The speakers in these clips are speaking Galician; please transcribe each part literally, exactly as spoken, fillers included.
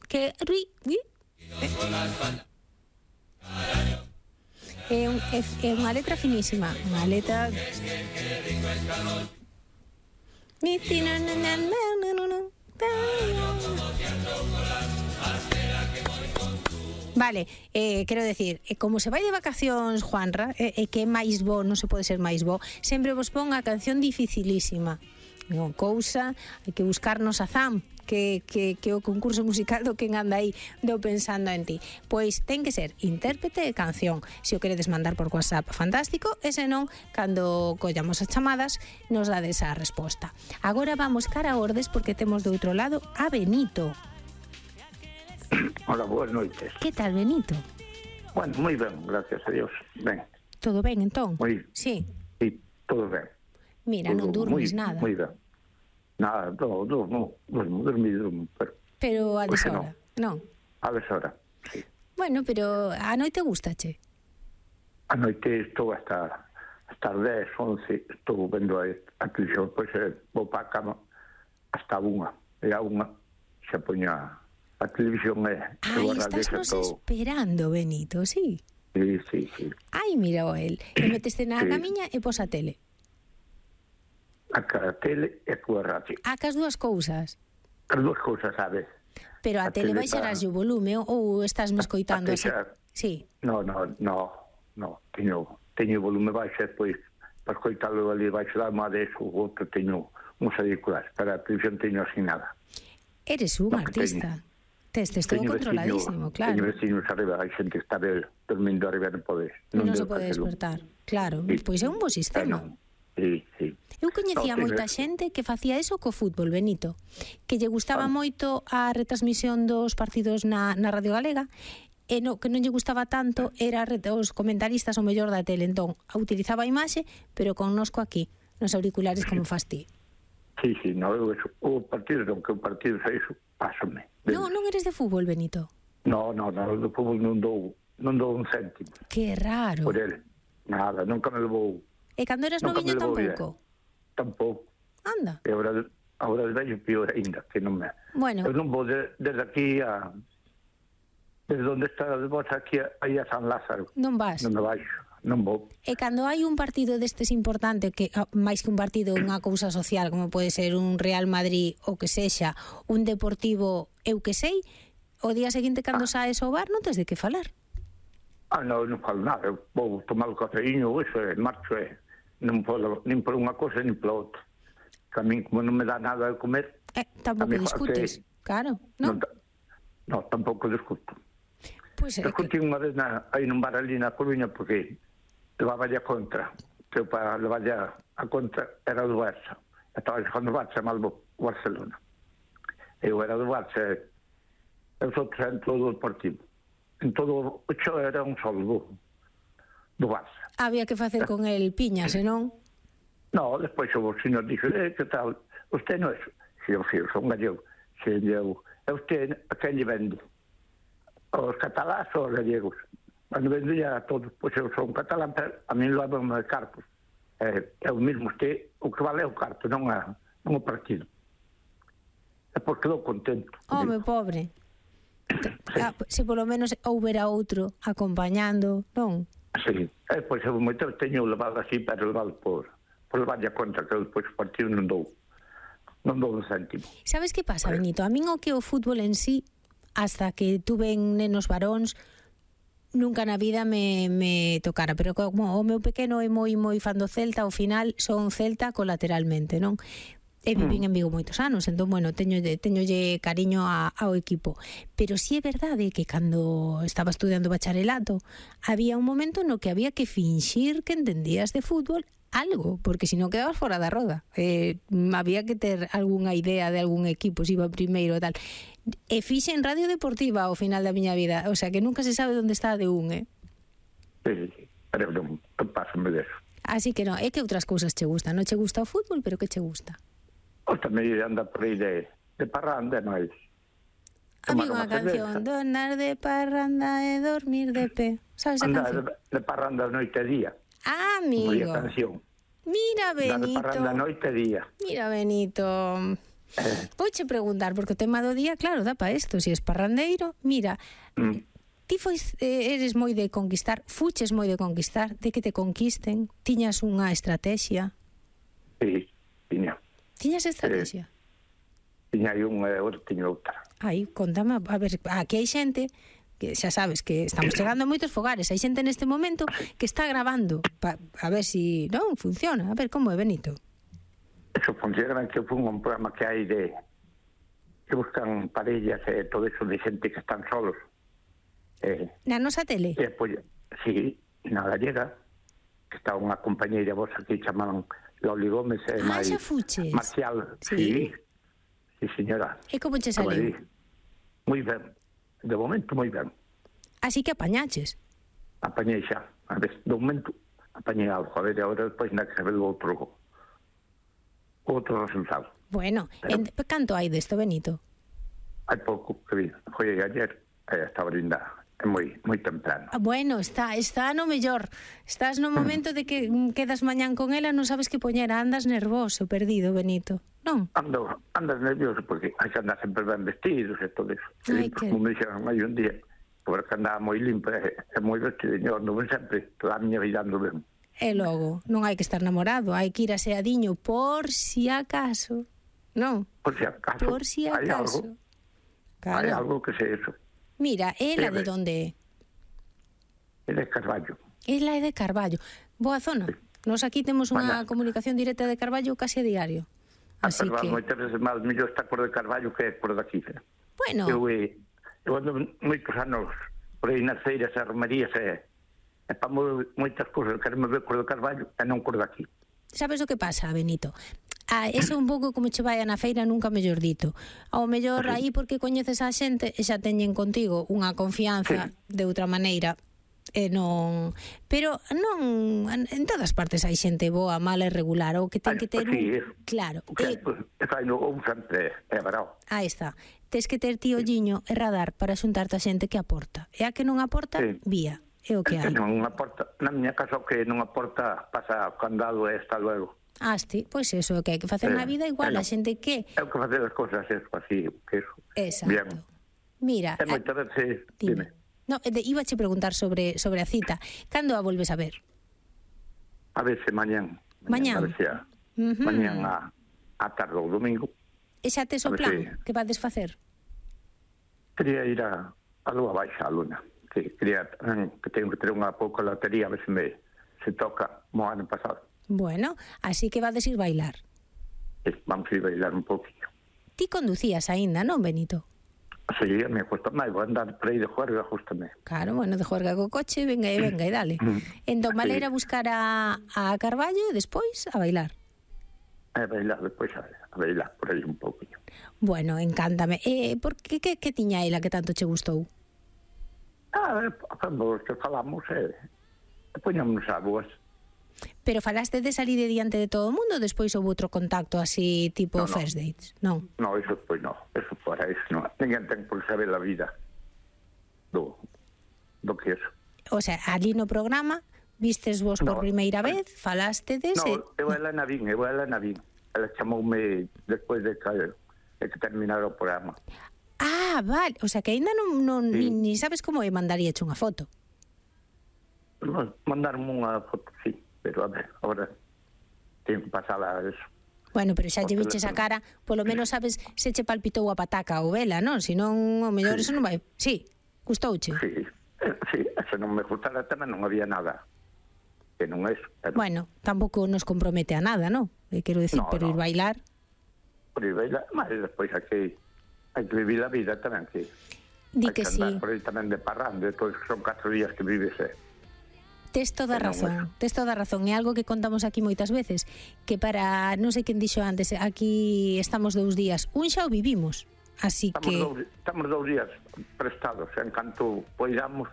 Que ri, ri. É, un, é, é unha letra finísima, unha letra. Vale, eh, quero decir, eh, como se vai de vacacións, Juanra, e eh, eh, que é máis bo, non se pode ser máis bo, sempre vos pon a canción dificilísima. Non cousa, hai que buscarnos a Zam, que, que, que o concurso musical do quen anda aí do Pensando en Ti. Pois ten que ser intérprete de canción. Se o queredes mandar por WhatsApp, fantástico, e se non, cando collamos as chamadas, nos dades a resposta. Agora vamos cara a Ordes, porque temos do outro lado a Benito. Hola, boas noites. Que tal, Benito? Bueno, moi ben, gracias a Dios. Ben. Todo ben, entón? Moi. Sí. Sí, todo ben. Mira, todo, non durmes muy, nada. Moi ben. Nada, no, no, no, durmo, dormi, durmo, pero... Pero a deshora, non? A deshora, sí. Bueno, pero a noite gustache? A noite estou hasta hasta as dez, once, estou vendo a, a televisión, pois eh, vou para a cama hasta unha, e a unha xa poña a televisión e... Ai, estás nos todo... esperando, Benito, sí? Sí, sí, sí. Ai, mira o el, e meteste na sí. camiña e pos a tele. A a tele e a radio. A cas dúas cousas? As dúas cousas, sabes? Pero a, a tele baixarás o volume ou estás me escoitando así? Sí. No, no, no, no, teño, teño o volume baixo e depois para escoitalo ali baixo da almohada e o outro teño uns auriculares, para a televisión teño así nada. Eres un no, artista. Tes, tes todo controladísimo, vecino, claro. Teño vecinos arriba, hai xente que está dormindo arriba, non pode. Non, non se pode despertar, claro. Sí. Pois é un bo sistema. Bueno, sí, sí. Eu coñecía no, moita xente que facía eso co fútbol, Benito, que lle gustaba ah. moito a retransmisión dos partidos na, na Radio Galega, e no, que non lle gustaba tanto era os comentaristas o mellor da tele, entón utilizaba a imaxe, pero connosco aquí, nos auriculares como fas ti. Sí, sí, no, eu eso, o partido, non que o partido sei iso, pásome. Non, non eres de fútbol, Benito? No, no, no, do fútbol non dou, non dou un céntimo. Que raro. Por ele, nada, nunca me levou. E cando eras noviño tampouco? Tampouco. Anda. E agora, agora de vello pior ainda, que non me... Bueno. Eu non vou de, desde aquí a... Desde onde está de vos aquí a, aí a San Lázaro. Non vas? Non me baixo, non vou. E cando hai un partido destes importante, que máis que un partido, unha cousa social, como pode ser un Real Madrid ou que sexa, un Deportivo, eu que sei, o día seguinte cando ah. saes ao bar non tes de que falar. Ah, non, non falo nada, eu vou tomar o cafeíño, eso é, marcho é. Non podo, nin por unha cosa, nin por outra. Que a min, como non me dá nada de comer... Eh, tampouco discutes, que, claro, non? Non, no, tampouco discuto. Pues, Discutí que... unha vez na, aí nun bar ali na Coruña, porque levaba a contra, que eu para levar a contra era do Barça. Estaba xogando o Barça, mal o Barcelona. Eu era do Barça, e os outros en todo o Deportivo. En todo o xo era un solo do, do Barça. Había que facer con el piña, senón? No, despois o señor dixo, eh, que tal, usted non é... Si, eu, si, eu son gallego. Si, eu, e usted a quen lle vende? Os catalás ou os gallegos? Cando vendo ya a todos, pois eu son catalán, pero a mí lo hablamos de cartos. É, é o mesmo, usted, o que vale é o carto, non, a, non o partido. É porque quedou contento. Home, pobre. Sí. Ah, se polo menos houbera outro acompañando, non? Sí, é, pois eu moito teño levado así, pero levado por, por levar a conta, que eu depois o partido non dou. Non dou un céntimo. Sabes que pasa, Benito? A min o que o fútbol en sí, hasta que tuve nenos varóns, nunca na vida me, me tocara, pero como o meu pequeno é moi moi fan do Celta, ao final son Celta colateralmente, non? E vivín en Vigo moitos anos, entón, bueno, teñolle, teñolle cariño a, ao equipo. Pero sí é verdade que cando estaba estudiando bacharelato, había un momento no que había que finxir que entendías de fútbol algo, porque se non quedabas fora da roda. Eh, había que ter algunha idea de algún equipo, se iba primeiro e tal. E fixe en Radio Deportiva ao final da miña vida, o sea que nunca se sabe onde está de un, eh? Sí, sí, pero non pásame deso. Así que non, é que outras cousas che gustan, non che gusta o fútbol, pero que che gusta? O tamén anda por aí de, de parranda, non é? Amigo, unha canción, donar de parranda e dormir de pé. Sabes a canción? De, de parranda noite e día. Ah, amigo. Canción. Mira, Benito. De parranda noite e día. Mira, Benito. Eh, Vouche preguntar, porque o tema do día, claro, dá para isto, se es parrandeiro, mira, mm, ti fois, eh, eres moi de conquistar, fuches moi de conquistar, de que te conquisten, tiñas unha estrategia. sí, tiña. Tiñas estrategia? Tiña aí unha e outra, tiña outra. Aí, contame, a ver, aquí hai xente que xa sabes que estamos chegando a moitos fogares, hai xente neste momento que está grabando pa, a ver si, non, funciona, a ver como é, Benito. Eso funciona, que fue un programa que hai de que buscan parellas e eh, todo eso de xente que están solos. Eh, Na nosa tele? e pues, sí, na gallega, que está unha compañeira vosa que chamaban Loli Gómez e Ah, máis xa fuches. Marcial. Sí? Sí, sí, señora. E como che A saliu? Madrid. Moi ben. De momento, moi ben. Así que apañaches. Apañei xa. A ver, de momento, apañei algo. A ver, agora despois na que se ve outro outro resultado. Bueno, Pero- en, canto hai desto, Benito? Hai pouco que vi. Foi ayer, eh, estaba linda. É moi, moi temprano. Ah, bueno, está está no mellor. Estás no momento de que mm, quedas mañán con ela, non sabes que poñer, andas nervoso, perdido, Benito. Non? Ando, andas nervioso porque hai que andar sempre ben vestidos e todo eso. Ai, Limpos, que- como me dixeron hai un día, porque andaba moi limpo e, e moi vestido. Eu ando ben sempre, toda a miña vida ando ben. E logo, non hai que estar namorado, hai que ir aseadiño por si acaso. Non? Por si acaso. Por si hai acaso. algo, Claro. hai algo que sei eso. Mira, ela de Debe. onde é? É de Carballo. Ela é de Carballo. Boa zona. Nos aquí temos unha Bueno. comunicación directa de Carballo case a diario. Así Así que... que, Moitas veces máis mellor está por de Carballo que por daqui. Eh? bueno, Eu, eh, eu ando moitos anos por aí nas feiras e romerías e, e para moitas cousas quereme ver por de Carballo e non por daqui. sabes o que pasa, Benito? Ah, eso un pouco como che vai na feira, nunca mellor dito. Ao mellor aí porque coñeces a xente e xa teñen contigo unha confianza Sí. de outra maneira e non, pero non en todas partes hai xente boa, mala e regular, ou que ten Ai, que ter sí, un, eso. claro, O que e, pues, fai no un sempre é bravo. aí está. Tes que ter ti olliño e radar para xuntarte a xente que aporta. E a que non aporta, Sí. vía. É o que hai. Non aporta, na miña casa o que non aporta pasa o candado e está luego. Asti, pois eso é o que hai que facer Eh, na vida igual, bueno. a xente que É o que facer as cousas eso, así, que eso. exacto. Bien. Mira, É a- moitas veces, dime. dime. No, de, ibache preguntar sobre sobre a cita. Cando a volves a ver? A ver se mañán. Mañán. A ver se a, Ujú. mañán a, a tarde ou domingo. E xa tes o A ver plan? se- Que vades facer? Quería ir a, a Lua Baixa, a Luna. Que quería, que tengo que ter unha pouca lotería, a ver se me se toca mo ano pasado. Bueno, así que vades ir bailar. E vamos a ir bailar un pouquinho. Ti conducías aínda, non, Benito? Sí, me cuesta máis, vou andar por aí de juerga, justamente. Claro, bueno, de juerga co coche, venga e venga e dale. Entón, vale ir a buscar a, a Carballo e despois a bailar. A bailar, despois a, a bailar por aí un pouquinho. Bueno, encántame. Eh, por que, que, que tiña ela que tanto che gustou? Ah, cando que falamos, eh, poñámonos a boas. Pero falaste de salir de diante de todo o mundo, despois houve outro contacto así tipo No, no. first dates, non? No, eso pois no, eso para eso no. Ninguén ten por saber a vida do, do que eso. O sea, ali no programa vistes vos por No, primeira ai. vez, falastedes e... No, eu ela na vin, eu ela na vin. Ela chamoume despois de que, de que terminara o programa. Ah, vale, o sea que aínda non, non Sí. ni, ni sabes como é mandaríache unha foto. No, mandarme unha foto, sí, pero a ver, agora tengo que pasala a eso. Bueno, pero xa Por lle viches a teléfono. cara, polo menos sabes se che palpitou a pataca ou vela, non? Si non, o mellor Sí. eso non vai... Sí, gustouche. Sí, eh, sí, se non me gustara tamén non había nada. Que non é eso. Pero Bueno, tampouco nos compromete a nada, non? Eh, quero decir, No, pero no. ir bailar... por aí bailar, mas despois hai que, hai que vivir a vida tamén, que Di hai que que sí. andar por aí tamén de parrando, depois son catro días que vives, eh. Tes toda Que non razón, eso. tes toda razón. É algo que contamos aquí moitas veces, que para, non sei quen dixo antes, aquí estamos dous días, un xa o vivimos, así Estamos, que... dous, estamos dous días prestados, en canto poidamos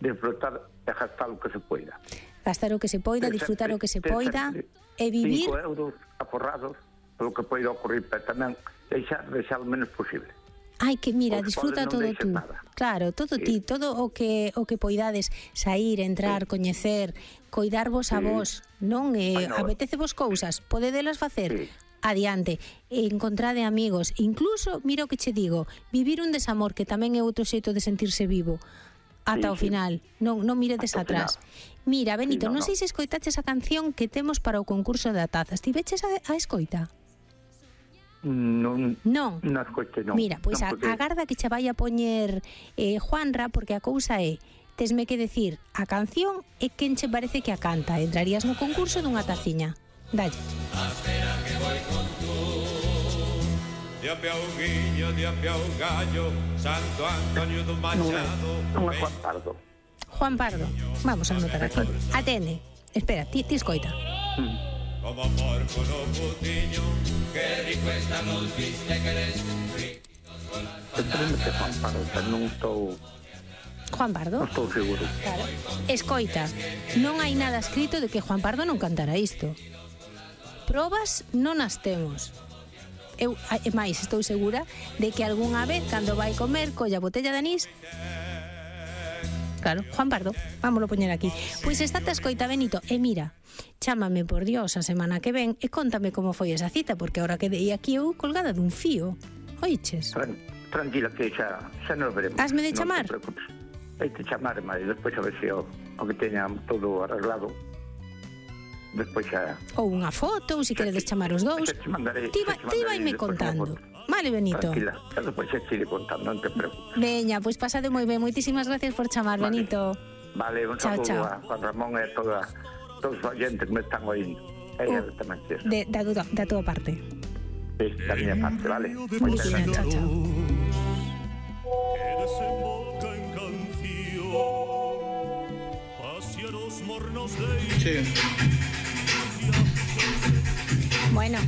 disfrutar e gastar o que se poida. Gastar o que se poida, Ter disfrutar o sempre- que se ter poida sempre e vivir... cinco euros aforrados polo que poida ocurrir, pero tamén deixar, deixar o menos posible. Ai, que mira, Os disfruta pobres non todo deixen tú. nada. Claro, todo Sí. ti, todo o que o que poidades sair, entrar, coñecer, coidarvos a Sí. vos, non? Eh, Ai, no. apetecevos cousas, podedelas facer. Sí. adiante, encontrade amigos, incluso, mira o que che digo, vivir un desamor, que tamén é outro xeito de sentirse vivo, ata Sí, o sí. final, non, non miredes Ata o atrás. final. Mira, Benito, Sí, no, non sei no. se escoitaches a canción que temos para o concurso da taza. Estiveches a, a escoita? Non, Non. non escoite, non. Mira, pois non, a, porque- agarda que che vai a poñer eh, Juanra, porque a cousa é, tesme que decir a canción e quen che parece que a canta. Entrarías no concurso dunha taciña. Dalle. Dia piau guiño, dia piau gallo, Santo Antonio do Non é, Machado. non é Juan Pardo. Juan Pardo. Vamos a anotar aquí. Atende. Espera, ti, ti escoita. Como porco no putiño, que rico está nos viste que eres rico. Entendo que é Juan Pardo, pero non estou, Juan Pardo? non estou seguro. Claro. Escoita, non hai nada escrito de que Juan Pardo non cantara isto. Probas non as temos. Eu, e máis, estou segura de que algunha vez, cando vai comer, colla botella de anís. Claro, Juan Pardo, vámoslo poñer aquí. Pois estate a escoita, Benito, e mira, chámame por Dios a semana que ven e contame como foi esa cita, porque ahora quedei aquí eu colgada dun fío. Oiches? Tran, tranquila que xa, xa nos veremos. Hasme de Non te chamar? preocupes. Hai te chamar, mas despois a ver se o, o que teña todo arreglado. Despois xa... Ou unha foto, ou se queredes chamar os dous. Xa te mandarei, Ti, xa vai, te ti mandarei vaime despois unha contando. foto. Vale, Benito. Tranquila, xa despois xa te iré contando, non te preocupes. Veña, pois pasade moi ben. Moitísimas gracias por chamar, Vale. Benito. Vale, un Chao, saludo chao. a Juan Ramón e a toda, todos os oyentes que me están oindo. E Uh, uh, tamén que De, da, da, da túa parte. sí, da miña parte, vale? Moitas Veña, gracias. chao, chao. Que desemboca en canción hacia los mornos de Sí. Bueno.